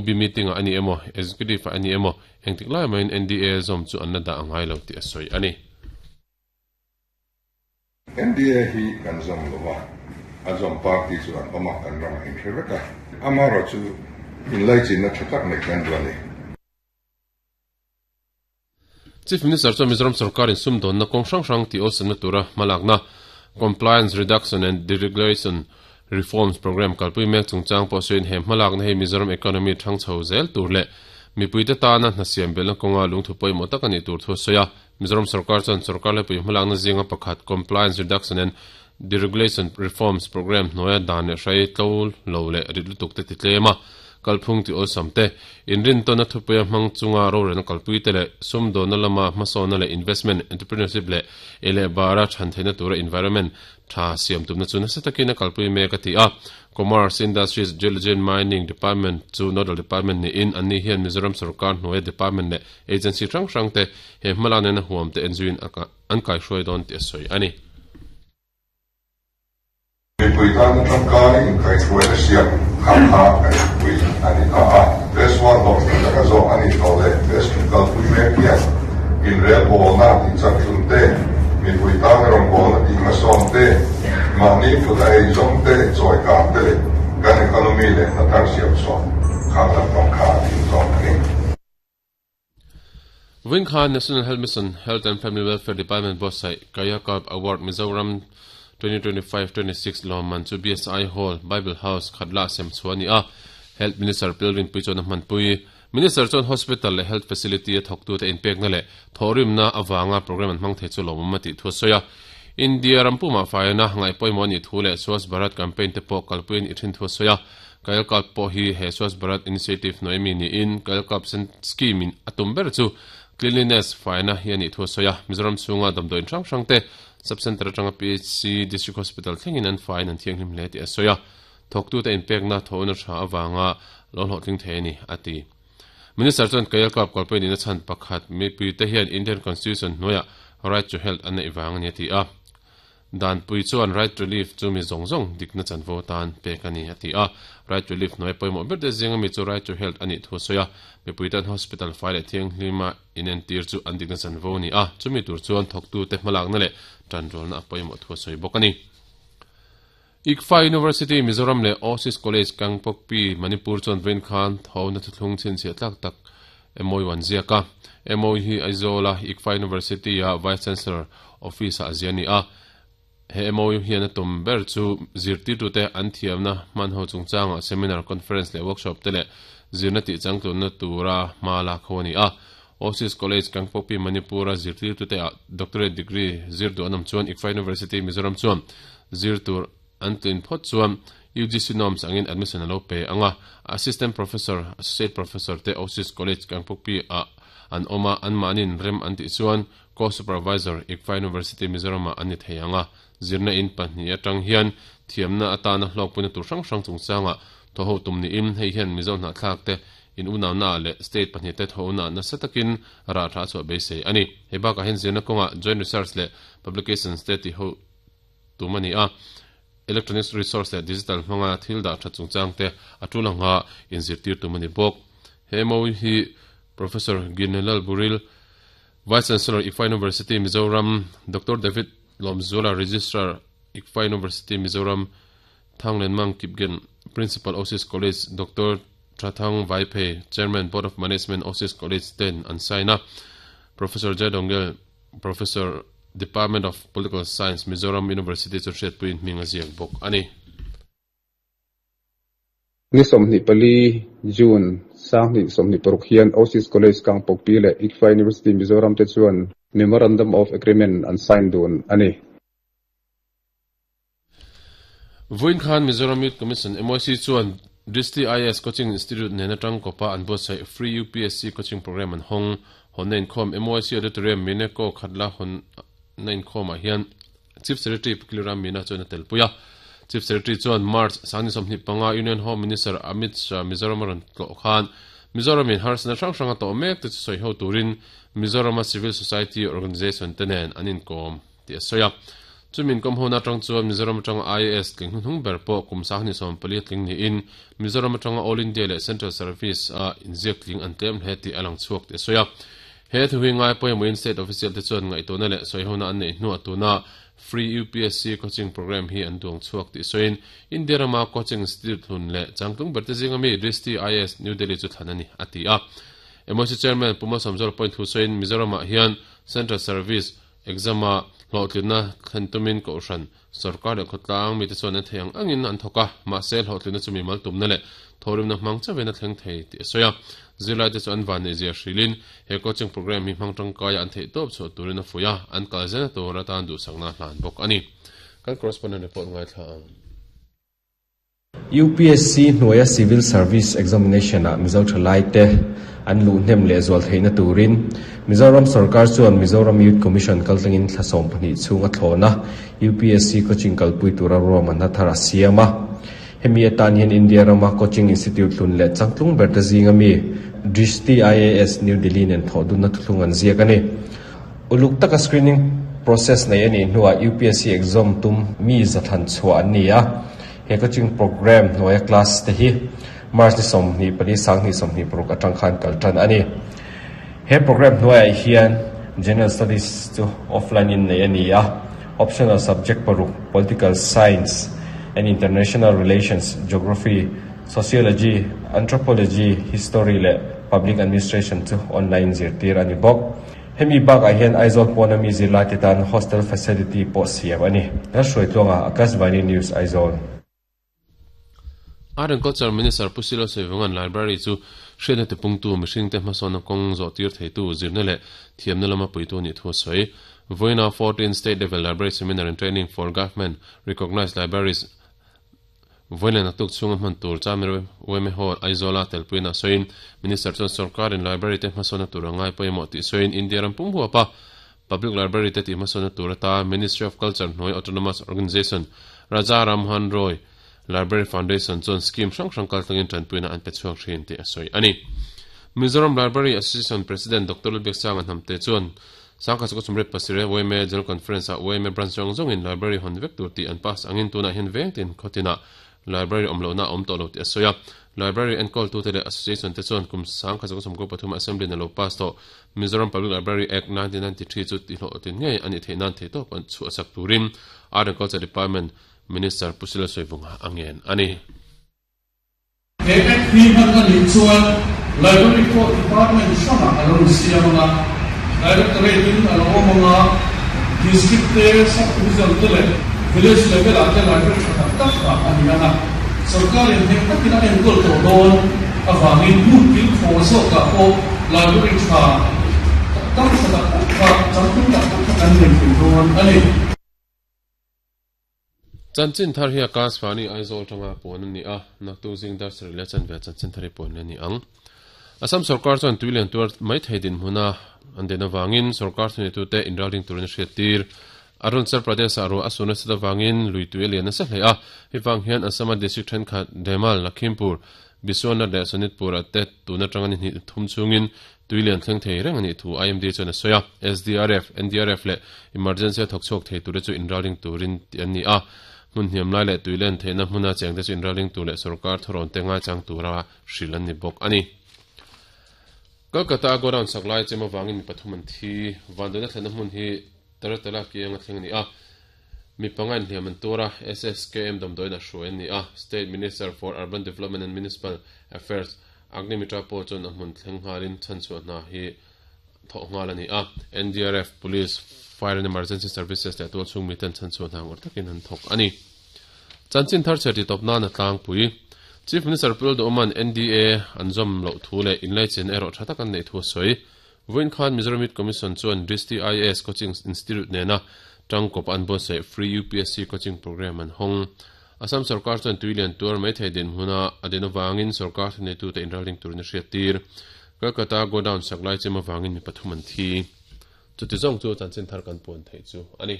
EB meeting-ah a ni emaw, Executive-ah a ni emaw, engtik lai mahin NDA zawm chu an la dah a ngai lo tih a sawi a ni. NDA hi kan zawm lo va, a zawm party chu an awm a, kan ramah inhre vek a. Amaherawhchu inlaichinna tha tak neih kan duh a ni. Chief Minister chuan Mizoram sorkarin sumdawnna kawng hrang hrang tih awlsamna tura hmalakna Compliance Reduction and Deregulation Reforms Programme kalpui mek chungchang pawh sawiin he hmalakna hi Mizoram economy thang chho zel tur leh mipuite tana hna siam belhna kawnga lungthu pawimawh tak a nih tur thu a sawi a. Mizoram sorkar chuan sorkar lepui hmalakna zinga pakhat Compliance Reduction and Deregulation Reforms Programme hnuaia dan leh hrai tlo lo leh rit lutuk te ti tlem a, kalphung ti awlsam te, inrintawnna thupuia hmang chunga rorelna kalpui te leh sumdawnna lama hmasawnna leh investment, entrepreneurship leh ei leh bara chhan theihna tura environment tha siam tumna chu nasa takin a kalpui mek a ti a. Commerce, Industries, Geology and Mining Department chu nodal department niin anni hian Mizoram sorkar hnuaia department leh agency hrang hrang te he hmalak nena huam te enzuiin an kaihruai dawn tih a sawi a ni. Mipui tana tangkai inkaihruaina siam kha kha kan thupui a ni ta a. Phase one hlawhtling taka zawh a nih tawh leh phase two kalpui mek hian inrelbawlna tih chakhlum te, mipui tana rawngbawlna tih hmasawn te, mahni kut a eizawm te, chawikan te leh kan economy leh hna thar siam chhuah khang lampang kha a tling zawk a ni. Vawiin khan National Health Mission, Health and Family Welfare Department buatsaih Kayakalp Award Mizoram 2025-26 lawmman chu BSI Hall, Bible House, Khatla sem chhuah a ni a. Health Minister Pilrinpui chuan a hmanpui. Minister chuan hospital leh health facility a thawktute inpekna leh thawhrimna avanga programme an hmang thei chu lawmawm a tih thu a sawi a. India ram pumah faina ngaihpawimawh a nih thu leh Swachh Bharat campaign te pawh kalpui a nih thin thu a sawi a. Kayakalp pawh hi he Swachh Bharat Initiative hnuai mi niin Kayakalp Scheme in a tum ber chu Cleanliness faina hi a nih thu a sawi a. Mizoram chhunga damdawiin hrang hrang te Sub Centre atanga PHC District Hospital thlengin an faiin an thianghlim hle tih a sawi a. Thawktute inpekna thawhna tha avanga lo hlawhtling thei a ni, a ti. Minister chuan Kayakalp kalpui nihna chhan pakhat mipuite hian Indian Constitution hnuaiah Right to Health an neih vang a ni a ti a. Danpui chuan Right to Live chu mi zawng zawng dikna chanvo tan pek a ni, a ti a. Right to Live hnuai pawimawh ber te zinga mi chu Right to Health a nih thu a sawi a. Mipui tan hospital fai leh thianghlima inentir chu an dikna chanvo a ni a, chumi tur chuan thawktute hmalakna leh tanrualna a pawimawh thu a sawi bawk a ni. ICFA University, Mizoram leh Oasis College, Kangpokpi, Manipur chuan vawiin khan thawhna thuthlung chhinchhiah tlak tak MOU an ziak a. MOU hi Aizawl-a ICFA University-a Vice Chancellor Office-ah a zia a ni a. He MOU hian a tum ber chu zirtirtute an thiamna hmanho chungchangah seminar, conference leh workshop te leh zirna tihchangtlunna tura hma lak ho a ni a. Oasis College, Kangpokpi, Manipur-a zirtirtute ah doctorate degree zir duh an awm chuan ICFA University, Mizoram chuan zir tur an tlin phawt chuan UGC norms angin admission a lo pe ang a. Assistant Professor, Associate Professor te Oasis College, Kangpokpi ah an awm a, anmahniin rem an tih chuan Co-Supervisor, ICFA University, Mizoram ah an ni thei ang a. Zirna in pahnih atang hian thiamna atana hlawkpuina tur hrang hrang chungchangah thawho tum niin hei hian Mizo hnahthlak te In unauna leh state pahnihte thawhna nasa takin rah tha a chhuah beisei a ni. Hei bakah hian zirna kawngah joint research leh publications te tih ho tum a ni a, electronic resource leh digital hmanga thil dah that chungchang te a tul anga inzirtir tum a ni bawk. He MOU hi Professor Ginelal Buril, Vice Chancellor, ICFA University, Mizoram, Doctor David Lawmzuala, Registrar, ICFA University, Mizoram, Thanglenmang Kipgen, Principal, Oasis College, Doctor Thathang Vaiphei, Chairman, Board of Management, Oasis College ten an sign a. Professor Jai Dongel, Professor, Department of Political Science, Mizoram University chu hriatpuiin hming a ziak bawk a ni. Ni 24 June, 2026 hian Oasis College Kangpokpi leh ICFA University Mizoram te chuan Memorandum of Agreement an sign dun a ni. Vawiin khan Mizoram Youth Commission, MYC, chuan Drishti IAS Coaching Institute nen atang kawpa an buatsaih Free UPSC Coaching Programme an hawng. Hawnna inkhawm MYC Auditorium Mineko Khatla hawnna inkhawmah hian Chief Secretary Pu Kiliram Meena chuan a telpui a. Chief Secretary chuan March 2025 Union Home Minister Amit Shah Mizoram a rawn tlawh khan Mizoramin harsatna hrang hrang a tawh mek te chu sawi ho turin Mizorama Civil Society Organisation te nen an inkawm tih a sawi a. Chumi inkawm hona atang chuan Mizoram atanga IAS tling hnuhnung ber pawh kum 24 tling niin Mizoram atanga All India leh Central Service a inziak tling an tlem hle tih a lang chhuak tih a sawi a. He thu hi ngai pawimawhin State Official te chuan ngaihtuahna leh sawihona an neih hnuah tuna Free UPSC Coaching Programme hi an duang chhuak tih sawiin India rama coaching institute hlun leh changtlung berte zinga mi Drishti IAS New Delhi chu thlan a ni, a ti a. MOC Chairman Pu Malsawmzawla pawhin thu sawiin Mizoramah hian Central Service Exam-a hlawhtlinna thlen tumin Kohhran, Sorkar leh khawtlang mite chuan an thei ang angin an thawk a, mahse hlawhtlinna chu mimal tumna leh thawhrimna hmang chauhin a thleng thei tih a sawi a. Zirlaite chu an vanneihzia hrilhin he coaching programme hi hmang tangkaia an theihtawp chhuah turin a fuih a, an kal zelna tur atan duhsakna a hlan bawk a ni. Kan correspondent report ngaithla ang. UPSC hnuaia Civil Service Examination-ah Mizo thalaite an luh hnem leh zual theihna turin Mizoram sorkar chuan Mizoram Youth Commission kaltlangin thla 12 chhung a thlawn a, UPSC coaching kalpui tura ruahmanna thar a siam a. Hemi atan hian India rama coaching institute hlun leh changtlung berte zinga mi Drishti IAS, New Delhi nen thawhdunna thuthlung an ziak a ni. Uluk taka screening process nei a nih hnuah UPSC exam tum mi zathlan chhuah an ni a. He coaching programme hnuaia class te hi March ni 24 2026 atang khan kal tan a ni. He programme hnuaiah hian General Studies chu offline in nei a ni a, optional subject paruk Political Science and International Relations, Geography, Sociology, Anthropology, History leh Public Administration chu online zirtir a ni bawk. Hemi bakah hian Aizawl pawna mi zirlaite tan hostel facility pawh siam a ni. Lalhruaitluanga, Akashvani News, Aizawl. Art and Culture Minister Pu Silo Saivunga'n Library chu hriatna tipungtu, mihringte hmasawnna kawng zawhtir theitu, zirna leh thiamna lama puitu a nih thu a sawi. Vawiina 14 State Level Library Seminar and Training for Government Recognised Libraries Vawiin naktuk chhunga hman tur Chamir Weme Hall, Aizawla telpuina sawiin Minister chuan sorkarin library te hmasawnna tur a ngai pawimawh tih sawiin India ram pum huapa public library te tih hmasawnna tur ata Ministry of Culture hnuai Autonomous Organisation Raja Rammohan Roy Library Foundation chuan scheme hrang hrang kaltlangin tanpuina an pe chhuak thin tih a sawi a ni. Mizoram Library Association President Doctor Lalbiaksanga Hnamte chuan Sangkhat Sukha Sumret Pasireh yma General Conference ah yma Branch zawng zawngin Library hawn vek tur tih an pass angin tunah hian veng tin khawtinah Library awm lohna a awm tawh lo tih a sawi a. Library enkawltute leh Association te chuan kum Sangkhat Sukha Sumkaw pathum Assembly in a lo pass tawh Mizoram Public Library Act 1993 chu tihhlawhtlin ngei a nih theih nan theihtawp an chhuahsak turin Art and Culture Department Minister Pu Sila Sawivunga a ngen a ni. He Act hi hman a nih chuan Library pawh Department hrangah a lo insiam ang a, Directorate in a lo awm ang a, District te, Sub-Division te leh Village level ah te Library tha tak tak dah a ni ang a, Sorkarin heng takin a enkawl tawh dawn avangin hmun kil khaw zawkah pawh Library tha tak tak tha tak tak kha changtlung tak tak kha kan nei thei dawn a ni. Chanchin thar hi Akashvani Aizawl tanga puan a ni a, naktuk zing dar sarih leh chanve ah chanchin thar hi puan leh a ni ang. Assam sorkar chuan tui lian tuar mai thei dinhmuna an den avangin sorkar thuneitute inralring turin a hriattir. Arunachal Pradesh ah ruah a sur nasat avangin lui tui a lian nasa hle a, hei vang hian Assam-a district thenkhat Demal, Lakhimpur, Biswanath leh Sonitpur ah te tun atanga ni hnih thum chhungin Tui lian thleng thei reng a nih thu IMD chuan a sawi a, SDRF, NDRF leh emergency a thawk chhuak thei tura chu inralring turin tih an ni a, hmun hniam lai leh tui len theihna hmuna chengte chu inralring tur leh sorkar thawrawn te ngaichang tura hrilh an ni bawk a ni. Kolkata a godown sak lai chem avangin mi pathum an thi. Vanduaina thlenna hmun hi Taratala kianga thleng a ni a, mi panga inhliam an tuar a, SSKM damdawiin a hruai an ni a, State Minister for Urban Development and Municipal Affairs Agnimitra pawh chuan a hmun thleng nghalin chhanchhuah hna hi thawh nghal a ni a, NDRF, Police, Fire and Emergency Services leh tualchhung miten chhanchhuah hna ngawrh takin an thawk a ni. Chanchin thar chhiar tih tawp nan a tlangpui. Chief Minister Pu Lalduhawma'n NDA an zawm loh thu leh inlaichin erawh tha tak an neih thu a sawi. Vawiin khan Mizoram Youth Commission chuan Drishti IAS Coaching Institute nena tangkawp an buatsaih Free UPSC Coaching Programme an hawng. Assam sorkar chuan tui lian tuar mai thei dinhmuna a din avangin sorkar thuneitute inralring turin a hriattir. Kolkata godown sak lai chem avangin mi pathum an thi. Chuti zawng chu chanchin thar kan puan theih chu a ni.